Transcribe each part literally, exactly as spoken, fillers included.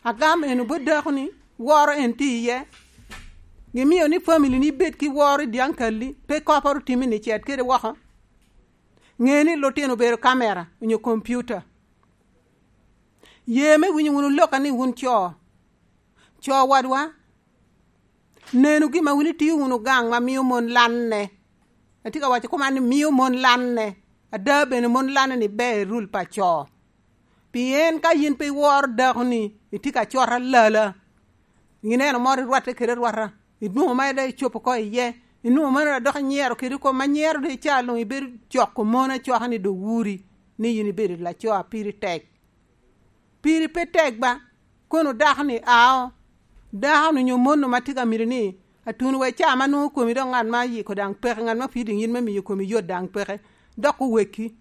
Agam en obo dako ni woro en tye iye. Gimiyo ni family ni bed ki woro i dyaŋ kalli, pe kopporo timi ni cet kede woko. Ŋe ni lutino obedo kamera onyo kompiuta. Ye me winyo wunu lokka ni wun co. Co wadwa, nenu gin ma wun itio wunu gaŋ ma mio mon lanne. Atye ka waco koma ni mio mon lanne. Ada bene mon lanne ni ber i rul pa co. Pien ka yin pe iworo dako ni itye ka cot alala, ineno moro irwatte kede arwata, inwoŋo mere dok icopo oko iye, inwoŋo mere dok inyero kede kom ma nyero dok ica luŋ ibedo coko mon acoka ni dok wuri, ni yin ibedo laco a piri tek. Piri pe tek ba, kono dako ni ao, dako ni onyo mon ma tye ka miti ni, atuno wa i caa ma nwoŋo komi dok ŋat ma yiko daŋ peke, ŋat ma pii diŋ yin me miyo komi yot daŋ peke, dok oweki.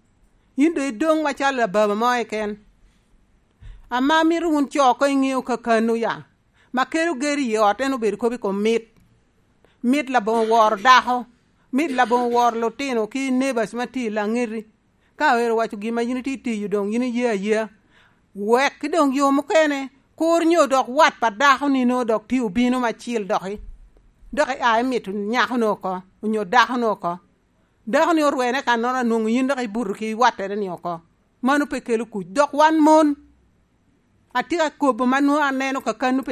Yin dong idoŋ macalo lababa mo keken. Ama mito wun co oko iŋeo kakano ya, ma kelo geri i ot en obedo kop i kom mit. Mit laboŋo woro dako, mit laboŋo woro lutino ki neighbors ma tye i laŋeti. Ka ero owaco gin ma yin itye tiyo doŋ yin iye ayea. Wek ki doŋ yo mukene, kur nyo dok wat pa dako ni nwoŋo dok tye obino macil doki. Dok ia imito nyako ni oko, onyo dako ni oko. Dako ni orwene kannono anwoŋo yin dok ibuto ki wattere ni oko. Mano pe kelo kuc. Dok wan mon, atye ka kobo ma nwoŋo aneno kakano pe